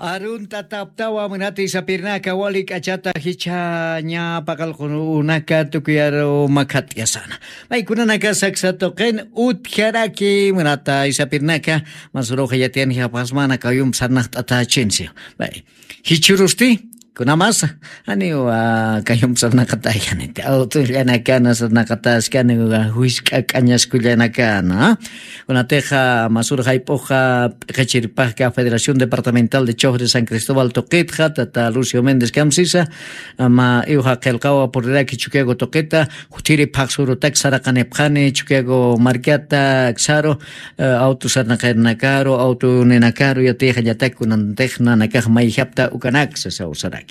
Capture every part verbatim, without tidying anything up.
Aruntataptawa munati sapirnaka wali k'achata jichhaña paqalqunaka tukuyaru makhat'yasana. Maykunanaka saksa tuqin utjaraki munata isapirnaka, masuruxa yatiyanjapxasmana kayump sarnaqt'atachinsi. May jichhurusti kunamasa, aniwa kayump sarnaqatayani, awtullanakana sarnaqataskani, juisk'a k'añaskullanakana. Kunatixa masur jayp'uxa p'iqichirpajka Federación Departamental de Chof de San Cristóbal tuqitxa tata Lucio Méndez Camsisa, ama iwxa qillqawa puriraki Chukiyago tuqita, jutiri phaxsurutak saraqanipxani Chukiyago markata aksaru, awtu sarnaqarinakaru, awtu ninakaru yatixa llatak kunantix nanakax mayjapta ukanak sasaw saraki.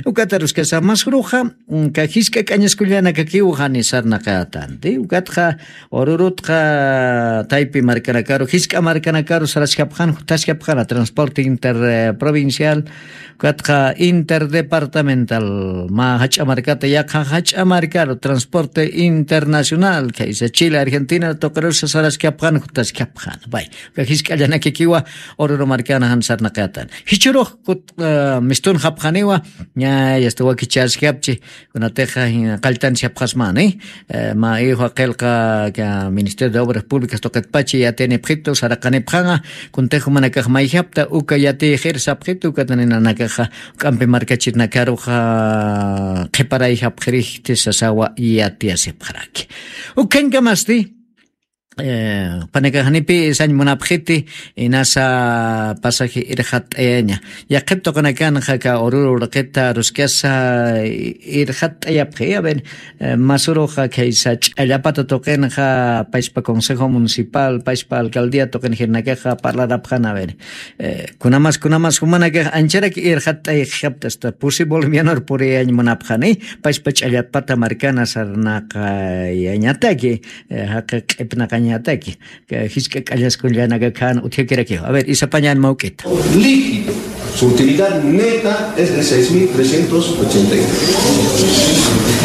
Ukataruskasa masuruxa ka jisk'a k'añaskullanakakiw jani sarnaqatanti. Ukatxa Orurutxa taypi markanakaru, jisk'a markanakaru saraskapxan, jutaskapxana transporte interprovincial, ukatxa interdepartamental, mä jach'a markata yaqha jach'a markaru transporte internacional, khaysa Chile, Argentina tuqirusa saraskapxan, jutaskapxana. Bay, uka jisk'allanakakiwa Oruro markana jan sarnaqatan. Jichhurux kut mistunxapxaniwa, ña yasta wakichäskapchi, kunatixa qalltanchapxasmani. Mä iwxa qillqa Ministerio de Obras Públicas tuqitpachi yatiyanipxitu saraqanipxanxa, kuntix jumanakax mayjapta uka yatiyxir sapxitu, ukataninanakaxa juk'ampi markachirinakaruxa qhiparayjapxirixti sasawa yatiyasipxaraki. Ukhañkamasti panakaxnipi sañ munapxiti, inasa pasaji irxatt'ayaña. Yaqhip tuqinakanxa ka Oruro urqita aruskasa irxatt'ayapxi. A ver, masuruxa khaysa ch'allapata tuqinxa payspa Consejo Municipal, payspa alcaldía tuqin jirinakaxa parlarapxan, a ver, kunamas, kunamas jumanakax ancharak irxatt'ayxapta, hasta pusi bolivianor puriyañ munapxani, payspa ch'allapata markana sarnaqayañataki, jaqi q'ipnaqañataki, jisk'a k'añaskullanaka khan utjakirakiw. A ver, isapañan mawk'ita. Líquido. Su utilidad neta es de seis mil trescientos ochenta y tres.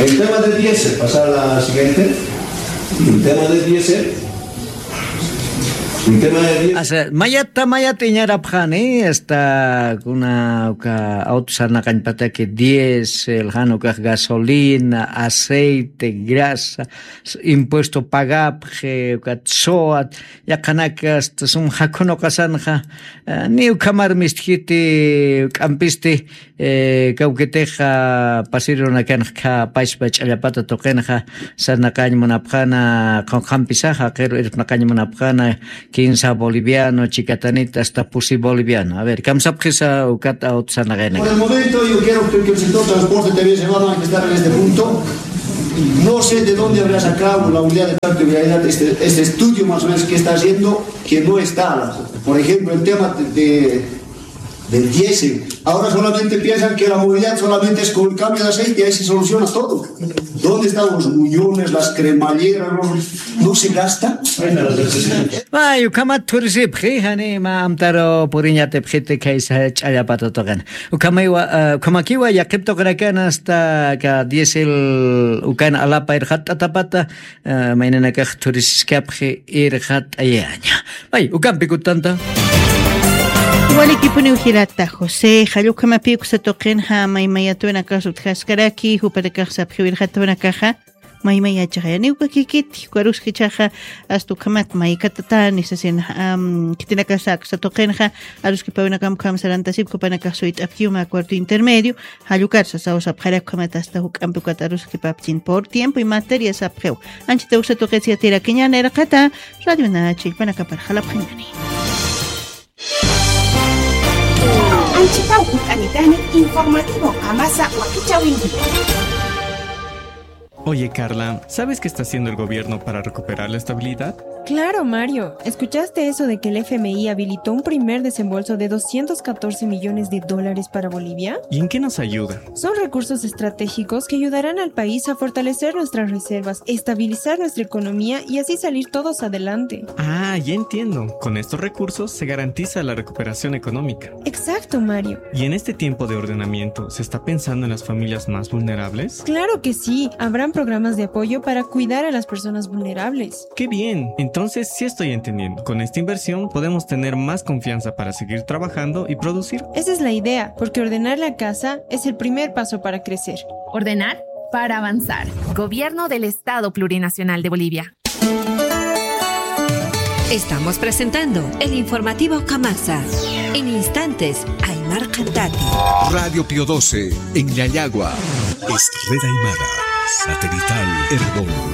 El tema de diésel, pasar a la siguiente. El tema de diésel. El tema de diésel. Asa, mayata, mayata iñarapxani, hasta kuna uka auto sarnaqañpataki diésel, jan ukax gasolina, aceite, grasa, impuesto pagapxi, ukat SOAT, yaqhanaka hasta sum jakhunuqasanxa, ni ukhamar mistjiti, juk'ampisti, kawkitixa pasirunakanxa payspa ch'allapata tuqinxa sarnaqañ munapxana, qunqampisaxa qiru irpnaqañ munapxana, quince boliviano, chicatanita hasta pusi boliviano. A ver, kamsapxisa ukat auto sarnaqañanaka. Por el momento, yo quiero que, que el sector transporte también se va a manifestar en este punto. No sé de dónde habrá sacado la unidad de tráfico y vialidad este, este estudio más o menos que está haciendo, que no está. Por ejemplo, el tema de, de, del diésel. Ahora solamente piensan que la movilidad solamente es con el cambio de aceite, ahí se soluciona todo. ¿Dónde están los muñones, las cremalleras? No, no se gasta. Ay, ukhamat thurisipxi, jani mä amtaru puriñatipxiti khaysa ch'allapata tuqin. Ukhamakiwa, ukhamakiwa yaqhip tuqinakan hasta ka diésel ukan alapa irxatt'atapata, maynanakax thurisiskapxi irxatt'ayaña. Ay, ukampi kutanta. Walikipuniw jilata José, jall ukhamapi uksa tuqinxa maymayatwinakax utjaskaraki, jupanakax sapxiw irxatt'awanakaxa, maymayachaxa, yaniw kakikiti, ukaruskichaxa, hasta ukhamat maykatatan, nisasina, khitinakasa aksa tuqinxa, aruskipawinakam ukham sarantasip, jupanakax suyt'apkiw mä cuarto intermedio, jall ukar sasaw sapxarak ukhamat hasta juk'ampi ukat aruskipapchin por tiempo y materia sapxiw. Anchita uksa tuqit yatirakiñäni irxata, Radio Nacha illpanakapar jalapxañäni. Anchita ukut'anitani informativo qamasa wakichäwinki. Oye, Carla, ¿sabes qué está haciendo el gobierno para recuperar la estabilidad? Claro, Mario. ¿Escuchaste eso de que el F M I habilitó un primer desembolso de doscientos catorce millones de dólares para Bolivia? ¿Y en qué nos ayuda? Son recursos estratégicos que ayudarán al país a fortalecer nuestras reservas, estabilizar nuestra economía y así salir todos adelante. Ah, ya entiendo. Con estos recursos se garantiza la recuperación económica. Exacto, Mario. ¿Y en este tiempo de ordenamiento se está pensando en las familias más vulnerables? Claro que sí. Habrán programas de apoyo para cuidar a las personas vulnerables. ¡Qué bien! Entonces, Entonces, sí estoy entendiendo. Con esta inversión podemos tener más confianza para seguir trabajando y producir. Esa es la idea, porque ordenar la casa es el primer paso para crecer. Ordenar para avanzar. Gobierno del Estado Plurinacional de Bolivia. Estamos presentando el informativo Kamasa. En instantes, Aymar Cantati. Radio Pío doce, en Llallagua. Es Red Aymara, satelital, Erbol.